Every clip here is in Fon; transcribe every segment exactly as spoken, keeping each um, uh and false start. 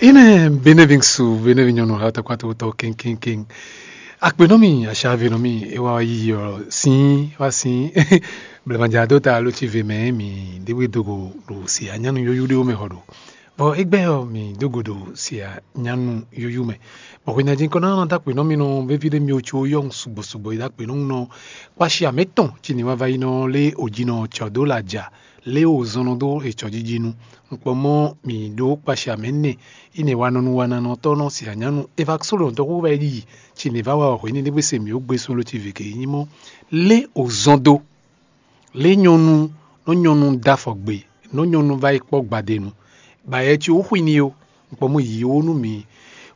Ine benevinsu benevi nyɔnu ha tɔkpatɔtɔ kɛnkɛnkɛn. Akpe nɔ mi, aṣa ve nɔ mi, e wa yi ɔ sin wa sin. Blema ja do ta lo ci ve mɛ mi de we dogo do si anyanu yoyu de wo mɛ hɔ do. Bɔ egbe ɔ mi dogo do si anyanu yoyu mɛ. Bɔ hwena jin kɔnɔ na ta akpe nɔ mi nɔ vevi de mi o ci o yɔ sugbɔ sugbɔ yi da akpe nɔ nɔ. Kpashi amɛ tɔn ci ni wa va yi nɔ le o ji nɔ cɔ do la ja. Lé o zɔn nɔ dó etsɔ̌jiji nu. Un kpɔ mɔ mǐ ɖó kpashi amɛ nɛ, ine wa nɔ nu wa na nɔ tɔ́ nɔ si anyanu e va só ɖo dɔxú wɛ yi, ci nǐ va wa hwě ní ɖé se mǐ ó gbé sún ló ci vě ke nyí mɔ. Lé o zɔn dó. Lé nyɔnu nɔ nyɔnu dó afɔ gbe, nɔ nyɔnu va yi kpɔ́ gbadenu. Ba yɛ ci ó xwi ní ó. Un kpɔ mɔ yǐ ó nú mǐ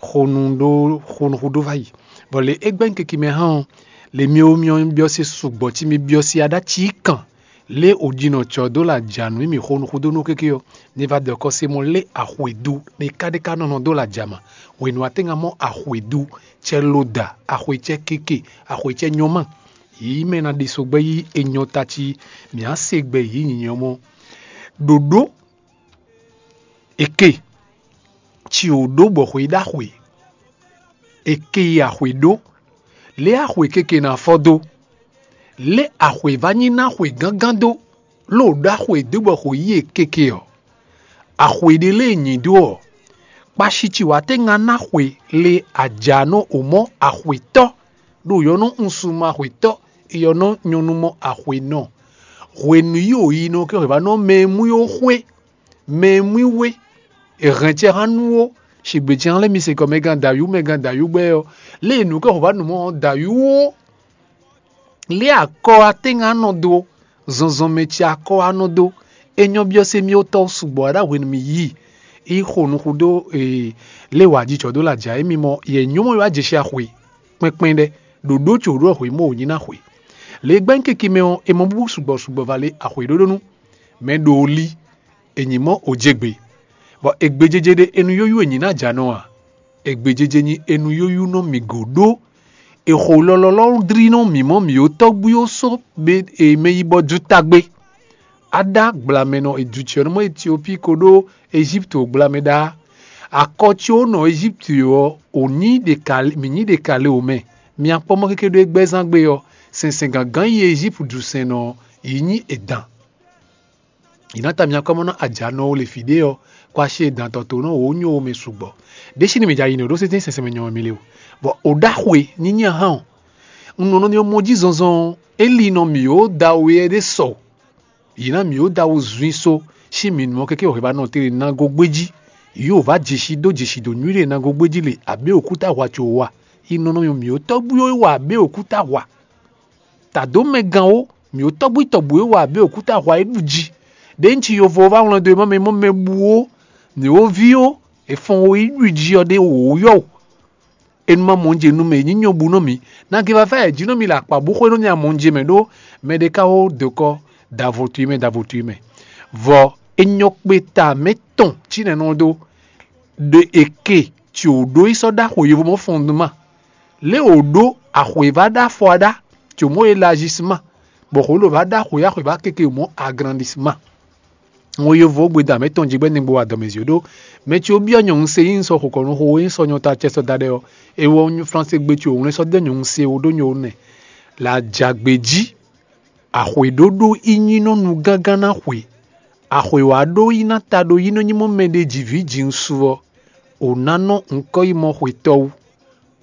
xonu ɖó xonu xú ɖó va yi. Bɔ lě é gbɛ́ keke mɛ hán ɔ́, lě mi ó myɔ byɔ́ se sugbɔ cí mi byɔ́ sí aɖá cí kàn. Lě o ji nɔ cɔ́ dó la ja nǔ mì xo nú xúdó nú kéké ɔ́, ní va dɔ kɔ́ sé mɔ lé axwe dó ɖé ká ɖé ká nɔ nɔ dó la ja ma. Hwenu atɛ́nga mɔ axwe dó, cɛ lo da, axwe cɛ kéke, axwe cɛ nyɔ́ ma. Yǐ mɛ ná ɖi so gbɛ́ yí enyɔ ta cí, mǐ á se gbɛ yǐ nyǐnyɔ́ mɔ. Ɖoɖó eke ci wǒ ɖó bɔ xwe ɖó axwe. Eke yi axwe ɖó, lě axwe keke ná fɔ dó. Lě axwe va nyi ná xwe gángan dó, ló ɖó axwe dó bɔ xwe yí e keke ɔ́. Axwe ɖé lée nyi dó ɔ́, kpashi ci wǎ tɛ́ ŋá ná xwe le ajanɔ o mɔ axwetɔ́ ɖo yɔ̌nɔ un su mɔ axwetɔ́, yɔ̌nɔ nyɔnu mɔ axwe nɔ. Hwenu yí o yi nɔ kɛ xwe va nɔ mɛ e mú yó xwe. Mɛ e mú we, è hɛn cɛ hán nú ó, shigbe cɛ hán lɛ́ mi se kɔ mɛ gán dǎyú mɛ gán dǎyú gbɛ ɔ́, lé e nǔ kɛ xo va nǔ mɔ dǎyú ó. Lé akɔ atɛ́nga nɔ dó, zɔnzɔnmɛ ce akɔ anɔ dó. É nyɔ́ byɔ́ sé mì ó tɔ́ sugbɔ aɖá hwenu mi yí, yi xo nuxu dó lé wǎ jijɔ dó la jà émi mɔ yɛ nyɔ́mɔ yi wá jɛ xwe kpɛnkpɛn ɖɛ. Ɖoɖó tso ɖó xwe mɔ wǒ nyi ná xwe. Lě e gbɛ́ keke mɛ ɔ́, è mɔ búbú sugbɔ sugbɔ va lé axwe ɖóɖó nú mɛ ɖo lí. È nyi mɔ ojégbe, bɔ ègbejéjé ɖé enu yóyú è nyi ná jǎ nɔ a? Ègbejéjé nyi enu yóyú nɔ mì gǒ ɖó. È xo lɔlɔlɔ dlí nɔ mǐ mɔ mǐ ó tɔ́gbú ó só be e mɛ yi bɔ ju tagbe. Aɖá gblamɛ nɔ Ejipti ɔ́ nɔ mɔ Etiopii ko ɖó Ejípti gblamɛ ɖá. Akɔ có nɔ Ejípti ɔ́, ò nyí ɖe ka mǐ nyí ɖe ka le wǒ mɛ. Mi akpɔ́ mɔ kéké ɖó égbɛ́zán gbe ɔ́, sɛnsɛn gǎngán yi Ejípti sɛn nɔ yi nyí edan. Yi ná ta mi akɔ́ mɔ ná ajanɔ wo le fǐ ɖé ɔ́, kó aṣí e dan tɔn to nɔ wǒ nyó wo mɛ sugbɔ. Ɖěsi ni mi ja yi nɔ ɖó sɛ́nsɛn sɛnsɛn mɛ nyɔ mi le o. Bɔ o ɖaxwe nyinyi ahan o. Un nɔ nɔ nyɔ mɔ jí zɔnzɔn ɔ́, é li nɔ mǐ ó da we ɛ ɖé sɔ. Yi ná mǐ ó da wo zun so, sí mǐ nɔ kéké wɛ ba nɔ tere nago gbéjí. Yi ò vá jesi dó jesi dó nyuí ɖe nago gbéjí le abě òkúta hwa co wa. Yi nɔ nɔ mǐ ó tɔ́gbú ó wa abě òkúta hwa. Tǎ dó mɛ gán ó, mǐ ó tɔ́gbú tɔ́gbú é wa abě òkúta hwa é ɖu jí. Ɖě un ci yovo ɔ́ vá wlán dó e má mɛ mɔ mɛ bú ó, mǐ ó ví ó, è fɔn ó yi ɖu jí ɔ́ ɖé wǒ yɔ o. È nɔ ma mɔ jɛ nu mɛ nyí nyɔ́ bú nɔ mǐ. Nagé vává è jí nɔ mì le akpǎ bú xwé nɔ mì amɔ jɛ mɛ ɖó mɛ ɖé ka ó dǒkɔ davo tui mɛ davo tui mɛ. Vɔ è nyɔ kpe ta mɛ tɔn cí nɛ́ nɔ dó ɖe è ke tso ɖó yi sɔ́ ɖó axwe yovo mɔ fɔn nú ma. Lě wǒ ɖó axwe vá ɖó afɔ aɖá, tso mɔ̌ élazisima, bɔ xwě lǒ vá ɖó axwe axwe vá keke mɔ̌ agrandisima. Ŋo yovo gbe da mɛ tɔn jigbɛ nigbo wa dɔmɛzi ɖó mɛ tso byɔ́ nyɔ̌nu se yí sɔ xokɔnu xo e sɔ nyɔ ta cɛ sɔ da ɖɛ ɔ́, e wɔ Fransé gbe tso wlɛn sɔ dɛ nyɔ̌nu se wo ɖó nyɔ nɛ. La jagbe jí. Axwe ɖó ɖó í nyí nɔ nu gángan ná xwe. Axwe wǎ ɖó yi ná ta ɖó yi nɔ nyí mɔ mɛ ɖé jǐví jǐnusú ɔ́, ò ná nɔ ŋkɔ́ yi mɔ xwetɔ́ wú.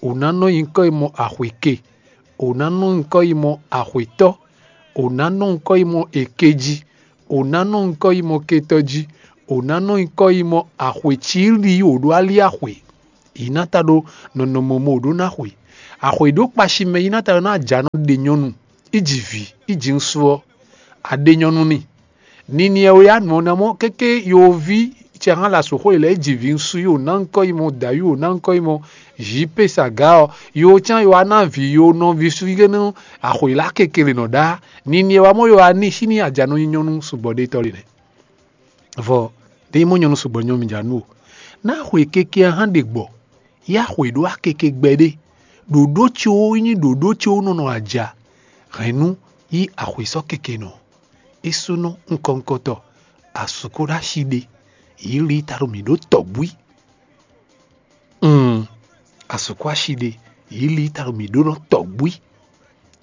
Ò ná nɔ nyí ŋkɔ́ yi mɔ axwe ke. Ò ná nɔ nyí ŋkɔ́ yi mɔ axwetɔ́. Ò ná nɔ nyí ŋkɔ́ yi mɔ èkejí. Ò ná nɔ nyí ŋkɔ́ yi mɔ ketɔ́ jí. Ò ná nɔ nyí ŋkɔ́ yi mɔ axwe cílí wǒ ɖó ali axwe. Yi ná ta ɖó nɔnɔmɔ mɔ wǒ ɖó ná xwe. Axwe ɖó kpashi mɛ yi ná ta ɖó ná ajǎ nɔ ɖe nyɔ́nu, í ji vǐ, í ji ŋsú ɔ́, a ɖe nyɔ́nu n'i. Niniɛ wɛ ya nɔ ná mɔ kéké yoví cɛ hán la sǒxo yi lɛ é ji vǐ ŋsú yi wǒ ná ŋkɔ́ yi mɔ dǎ yi wǒ ná ŋkɔ́ yi mɔ jǐ pe sa gǎ ɔ́, yo cán yo wá ná vǐ yo nɔví sú yi nú axwǐ lá kekele nɔ ɖá. Niniɛ wá mɔ yo wá ní sí ní ajanɔ nyi nyɔ́nu sugbɔ ɖé tɔ́ le nɛ́. Vɔ ɖé mɔ nyɔ́nu sugbɔ nyɔ́nu mi ja nú o. Ná xwe keke hán ɖe gbɔ, yá xwe ɖó akeke gbɛ ɖé. Ɖoɖó tso nyí ɖoɖó tso nɔnɔ aja. Hɛ̌nnu yí axwe sɔ́ keke nɔ. É súnɔ ŋkɔŋkɔtɔ, asukúɖashi ɖé, yǐ li ta ɖo mǐ ɖó tɔ̌búí. Asukúashi ɖe, yě li ta ɖo mǐ ɖó nɔ tɔ̌gbwí.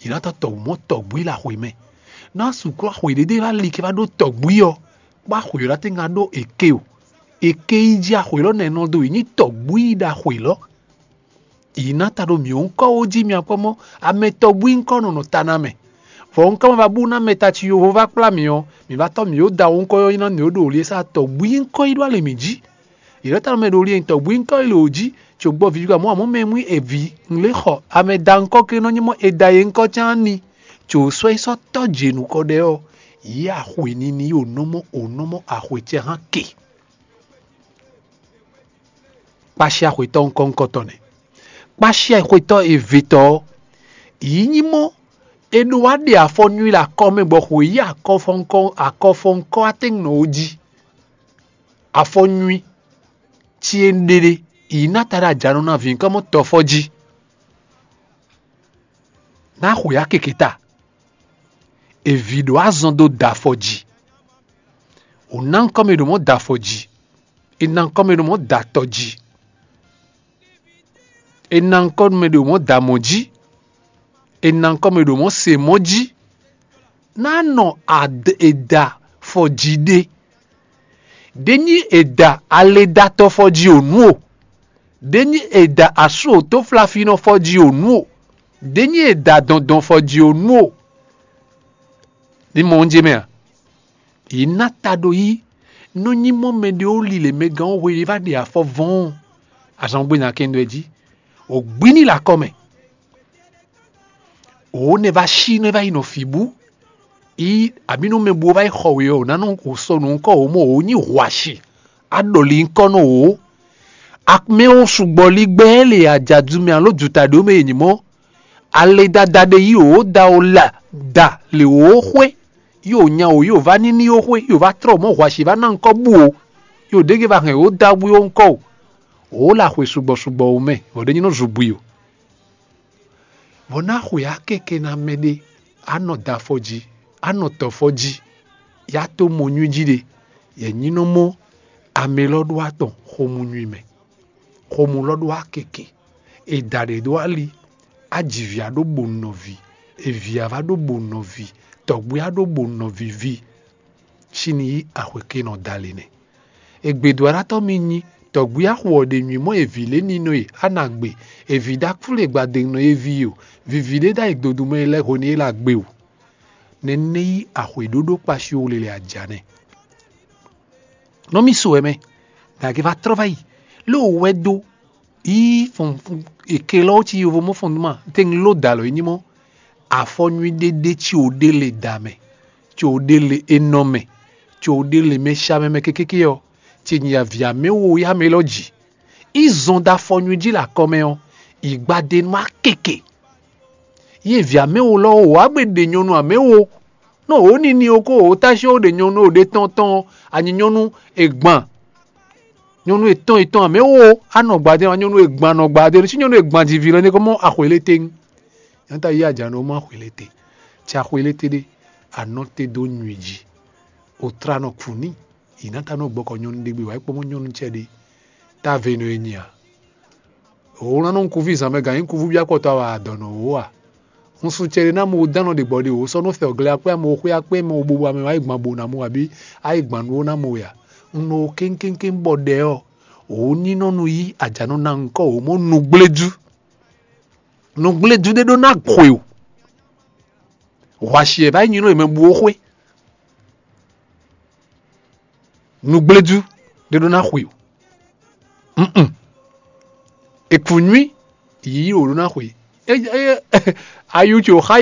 Yě ná tɔ́ tɔ̌gbú mɔ tɔ̌gbwí le axwe mɛ. Nú asukúaxwe ɖé ɖé wá li kɛ wá ɖó tɔ̌gbwí ɔ́, kpó axwe ɔ́ ná tɛ́ ŋá ɖó èké o. Èké yi jí axwe lɔ́ nɛ́ nɔ dó yi nyí tɔ̌gbwí ɖo axwe lɔ́. Yě ná ta ɖo mǐ ɔ́ ŋkɔ́ ó jí mi akpɔ́ mɔ́, amɛ tɔ́gbwí ŋkɔ́ nɔ nɔ ta ná mɛ. Vɔ ŋkɔ́ ma ba bú ná mɛ ta ci yovo vá kplá mǐ ɔ́, mǐ va tɔ́ mǐ ó da wǔ ŋkɔ́ ɔ́ nyí ná mǐ ó ɖo wlǐ e sá tɔ́gbwí ŋkɔ́ yi ɖó alɛ mǐ jí. Yě lɛ́ ta nɔ mɛ ɖo wlí e nyí tɔ́gbwí ŋkɔ́ yi lě wǒ jí, cóbɔ vǐ wǎ mɔ amɔ̌ mɛ mú e vǐ ŋlé xɔ amɛ da ŋkɔ́ ké nɔ nyí mɔ è da yě ŋkɔ́ cán ní. Có sɔ́ yi sɔ́ tɔ́ jě nukɔn ɖɛ ɔ́, yě axwe nini yi ò nɔ mɔ ò nɔ mɔ axwe cɛ hán ke. Kpáshíá xwetɔ́ ŋkɔ́ ŋkɔ́tɔ́ nɛ́. Kpáshíá xwetɔ́ e vetɔ́ ɔ́, yǐ nyí mɔ è ɖó wá ɖe afɔ nywí le akɔ mɛ bɔ xwe yí akɔfɔnkɔ akɔfɔnkɔ atɛ́ngnɔ ó jí. Afɔ nywí cí e un ɖe ɖe, yǐ ná ta ɖo ajanɔ ná vǐ ŋkɔ́ mɔ tɔfɔ jí. Ná xwe akeke ta. È vǐ ɖó azɔn dó da afɔ jí. Ò ná ŋkɔ́ mɛ ɖo mɔ̌ da afɔ jí. È ná ŋkɔ́ mɛ ɖo mɔ̌ da atɔ jí. È ná ŋkɔ́ mɛ ɖo mɔ̌ da mɔ̌ jí. È ná ŋkɔ́ mɛ ɖo mɔ̌ se mɔ̌ jí. Ná nɔ ad- è da afɔ jí ɖé. Ɖé nyí è da aledatɔfɔ jí ò nú o. Ɖé nyí è da asú òtóflafinɔ fɔ jí ò nú o. Ɖé nyí è da dɔndɔn fɔ jí ò nú o. Ní mɔ oúnjẹ mɛ a? Yě ná ta ɖo yí nú nyí mɔ mɛ ɖé ó lilɛ mɛ gán ó hwe ɖé vá ɖe afɔ vɔ́ɔn. Azɔn gbé nya kɛn dó ɛ jí. Ò gbí ní le akɔ mɛ. Ò nɛ vá sí nɔ é vá yi nɔ fǐ bú. Yi abǐ nú mɛ bú ó vá yi xɔ we ɔ́, ò ná nɔ ò sɔ nǔ ŋkɔ ò mɔ ò nyí hwashi. Á ɖɔ li ŋkɔ nɔ ò. Amɛ ó sugbɔ lí gbɛ lě ajadu mɛ alo duta ɖě mɛ è nyǐ mɔ. Ale dada ɖé yí wǒ da wǒ la da lě wǒ xwé, yí wǒ nya wǒ yí wǒ vá níní ó xwé, yí wǒ vá tlɔ́ mɔ̌ hwashi vá ná ŋkɔ́ bú o, yí wǒ ɖégé vá hɛn wǒ da bú ó ŋkɔ́ o. Wǒ la xwe sugbɔ sugbɔ wǒ mɛ, bɔ ɖé nyí nɔ zun bwi o. Bɔ ná xwe akeke ná mɛ ɖé, á nɔ da afɔ jí, á nɔ tɔ fɔ jí, yá tó mɔ nywí jí ɖe, yɛ nyí nɔ mɔ amɛ lɔ ɖó atɔn xomú nywí mɛ. Xomú lɔ ɖó akeke, è da ɖě ɖó ali, á ji vǐ á ɖó bo nɔví, è vǐ á vá ɖó bo nɔví, tɔ́gbé á ɖó bo nɔví ví. Sín ní yí axwekɛ́nɔ dali nɛ́. È gbědó aɖátɔ́ mì nyi, tɔ́gbé á xo ɔ́ ɖe nywí mɔ è vǐ lě ninɔ e á ná gbe, è vǐ ɖó akúlé gbadénɔ e ví o, viví ɖé ɖ'ayǐ dodumɛ e lɛ́ hwenu e é lɛ́ gbe o. Nɛ́ ní yí axwě ɖóɖó kpashi o lele aja nɛ́. Nɔ mì su wɛ mɛ, nǎ gé vá trɔ́ vá yi, lé wǒ wɛ dó yí fɔn èkelɔ́ cí yovo mɔ fɔn nú ma tɛ́ngló dǒ alɔ é nyí mɔ. Afɔ nywí ɖé ɖé cí wǒ ɖé le da mɛ, cí wǒ ɖé le enɔ mɛ, cí wǒ ɖé le mɛ sha mɛ mɛ kékéké ɔ́, ce nyi avǐ amɛ wo yá mɛ élɔ́ ji. Yi zɔn dó afɔ nywí jí le akɔ mɛ ɔ́, yi gbadenu akeke. Yi vǐ amɛ wo lɔ wǒ wá gbe ɖe nyɔnu amɛ wo. Nɔ wǒ nini o ko wǒ tási ó ɖe nyɔnu o ɖe tɔn tɔn, anyi nyɔnu e gban. Nyɔnu etɔn etɔn amɛ wo, anɔ gbadé, nyɔnu e gban nɔ gbadé, si nyɔnu e gban ji vǐ lɔ ní ko mɔ axwě lé tɛ́. Nyɔnu ta yí aja nɔ mɔ axwě lé tɛ́. Tsi axwě lé tɛ́ ɖé, anɔ te dó nyui jí. O tra nɔ kú ní, yi ná ta nɔ gbɔkɔ nyɔnu ɖé gbe wá kpɔ́n nyɔnu cɛ ɖé. Ta ve nɔ e nyi a? Wǒ ná nɔ ŋkuví zǎn mɛ gǎn nyí kúvú byɔ́ akpɔtɔ wɛ a dɔ̌ nɔ wǒ a? Un su cɛɖé ná mɔ dán nɔ ɖe gbɔ ɖe wǒ sɔ́ nú fɛ ɔ́ glɛ́ akpé amɔ xwé akpé mɛ bobo amɛ wá yi gban bo ná mɔ abǐ á yi gban nú ó ná mɔ wɛ a? Un nɔ wo kéŋkéŋkéŋ bɔ ɖɛ ɔ́, wǒ ní nɔ nu yí ajǎnɔ ná ŋkɔ wǒ mɔ nǔgbléjú. Nǔgbléjú ɖé ɖó ná xwe o. Hwashi ɛ vá yi nyi nú è mɛ bú ó xwé. Nǔgbléjú ɖé ɖó ná xwe o. Mm-mm. È kú nywí yǐyí wǒ ɖó ná xwe. Ayu ce wǒ xa